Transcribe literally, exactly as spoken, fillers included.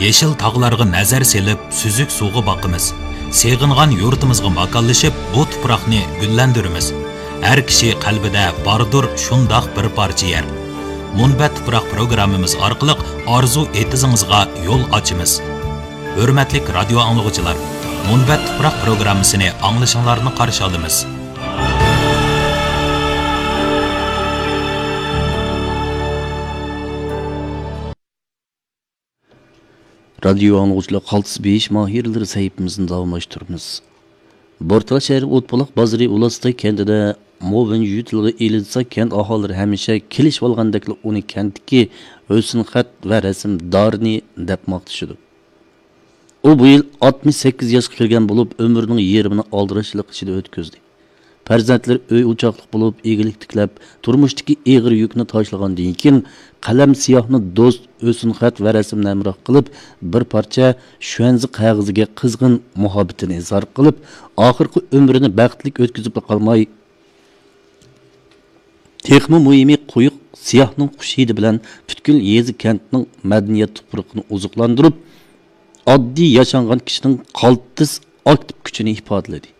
يېشىل تاغلارغا نەزەر سېلىپ، سۈزۈك سۇغا باقىمىز. سېغىنغان يۇرتىمىزغا ماكانلىشىپ، بۇ تۇپراقنى گۈللەندۈرىمىز. ھەر كىشى قەلبىدە باردۇر شۇنداق بىر پارچە يەر. مۇنبەت تۇپراق پروگراممىمىز ئارقىلىق ئارزۇ ئېتىزىڭىزغا يول ئاچىمىز. ھۆرمەتلىك رادىيو ئاڭلىغۇچىلار، مۇنبەت تۇپراق پروگراممىسىنى ئاڭلىشىڭلارنى قارشى ئالىمىز. رادىيو ئاڭلىغۇچىلار، قالتىس بېيىش ماھىرلىرى سەھىپىمىزنى داۋاملاشتۇرىمىز. بورتالا شەھىرى ئوتبۇلاق بازىرى ئۇلاستاي كەنتىدە مو ۋېن يۈ تىلغا ئېلىنسا، كەنت ئاھالىلىرى ھەمىشە كېلىشىۋالغاندەكلا ئۇنى كەنتتىكى ھۆسنخەت ۋە رەسىم دارىنى دەپ ماختىشىدۇ. ئۇ بۇ يىل ئاتمىش سەككىز ياشقا كىرگەن بولۇپ، ئۆمرىنىڭ يېرىمىنى ئالدىراشچىلىق ئىچىدە ئۆتكۈزدى. پەرزەنتلىرى ئۆي ئوچاقلىق بولۇپ، ئىگىلىك تىكلەپ، تۇرمۇشتىكى ئېغىر يۈكنى تاشلىغاندىن كېيىن، قەلەم سىياھنى دوست، ھۆسنخەت ۋە رەسىمنى ھەمراھ قىلىپ، بىر پارچە شۈەنزە قەغىزىگە قىزغىن مۇھەببىتىنى ئىزھار قىلىپ، ئاخىرقى ئۆمرىنى بەختلىك ئۆتكۈزۈپلا قالماي، تېخىمۇ مۇھىمى، قويۇق سىياھنىڭ خۇش ھىدى بىلەن پۈتكۈل يېزا كەنتنىڭ مەدەنىيەت تۇپرىقىنى ئوزۇقلاندۇرۇپ، ئاددىي ياشانغان كىشىنىڭ قالتىس ئاكتىپ كۈچىنى ئىپادىلىدى.